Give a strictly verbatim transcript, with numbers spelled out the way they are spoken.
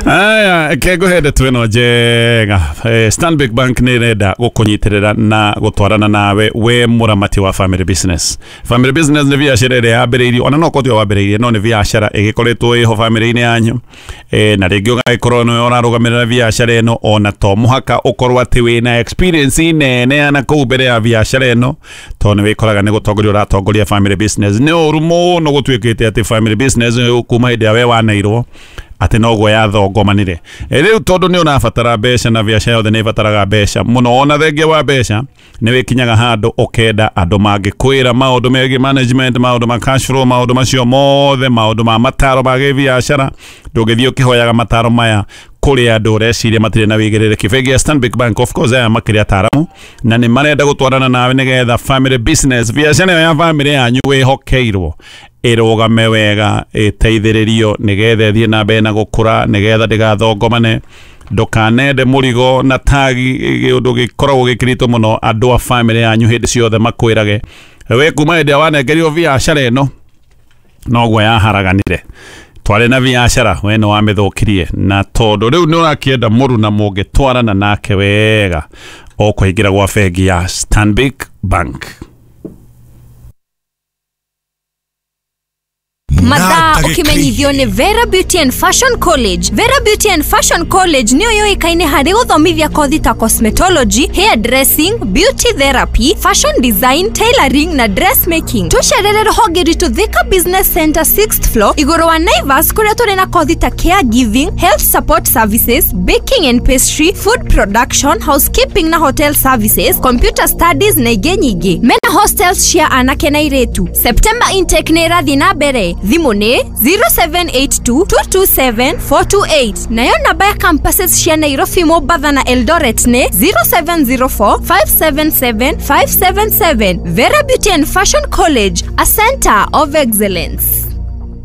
Aya, ke ngũhe ndeto ĩno njega. Eh, Stanbic Bank nĩ ĩrenda gũkũnyitĩrĩra na gũtwarana nawe we mũramati wa family business. Family business nĩ biacara ĩrĩa yambĩrĩirio, ona no korwo tiwe wambĩrĩirie, no nĩ biacara ĩgĩkoretwo ĩho family-inĩ yanyu, eh, na rĩngĩ ũgagĩkorwo nĩwe ũrarũgamĩrĩra biacara ĩno, ona to mũhaka ũkorwo atĩ wĩna experience nene ya na kũu mbere ya biacara ĩno, tondũ nĩ wĩkoraga nĩ gũtongoria ũratongoria family business. Nĩ ũru mũno gũtuĩkĩte atĩ family business kuma hĩndĩ ĩrĩa we waneirwo atĩ noguo yathongomanire. Rĩu tondũ nĩ ũrabatara mbeca na biacara yothe nĩ ĩbataraga mbeca mũno, ona thengia wa mbeca nĩ wĩkinyaga handũ ũkenda andũ mangĩkwĩra maũndũ megiĩ management, maũndũ ma cash flow, maũndũ macio mothe, maũndũ ma mataro ma gĩbiacara. Ndũngĩthiĩ ũkĩhoyaga mataro maya kũrĩ andũ ũreciria matirĩ na wĩigĩrĩrĩki. Bengi ya Stanbic Bank, of course, aya makĩrĩ ataramu na nĩ marenda gũtwarana nawe nĩgetha family business, biacara ĩyo ya family yanyu wĩhokeirwo, ĩrũgame wega, ĩteithĩrĩrio nĩgetha ĩthiĩ na mbere na gũkũra, nĩgetha ndĩgathongomane. Ndũkanende mũrigo na tagi ũndũ gĩkoragwo gĩkĩrĩtwo mũno andũ a family yanyu hĩndĩ ciothe makwĩrage we kuma hĩndĩ ĩrĩa wanengerirwo biacara ĩno noguo yaharaganire, twarĩ na biacara we nĩ wamĩthũkirie, na tondũ rĩu nĩ ũrakĩenda mũruna mũngĩtwarana nake wega, ũkũingĩra gwa bengi ya Stanbic Bank. Mathaa ũkĩmenyithio nĩ Vera Beauty and Fashion College. Vera Beauty and Fashion College nĩyo yũĩkaine harĩ gũthomithia kothi ta cosmetology, hair dressing, beauty therapy, fashion design, tailoring na dressmaking. Tũcerere rũhonge rwitũ Thika Business Center sixth floor igũrũ wa Naivas, kũrĩa tũrĩ na kothi ta caregiving, health support services, baking and pastry, food production, housekeeping na hotel services, computer studies na ingĩ nyingĩ. Mena hostels cia anake na airĩtu. September intake nĩ ĩrathiĩ na mbere. Thimũ nĩ zero seven eight two, two two seven, four two eight. Nayo namba ya campuses cia Nairobi, Mombasa na Eldoret nĩ zero seven zero four, five seven seven, five seven seven. Vera Beauty and Fashion College, a center of excellence.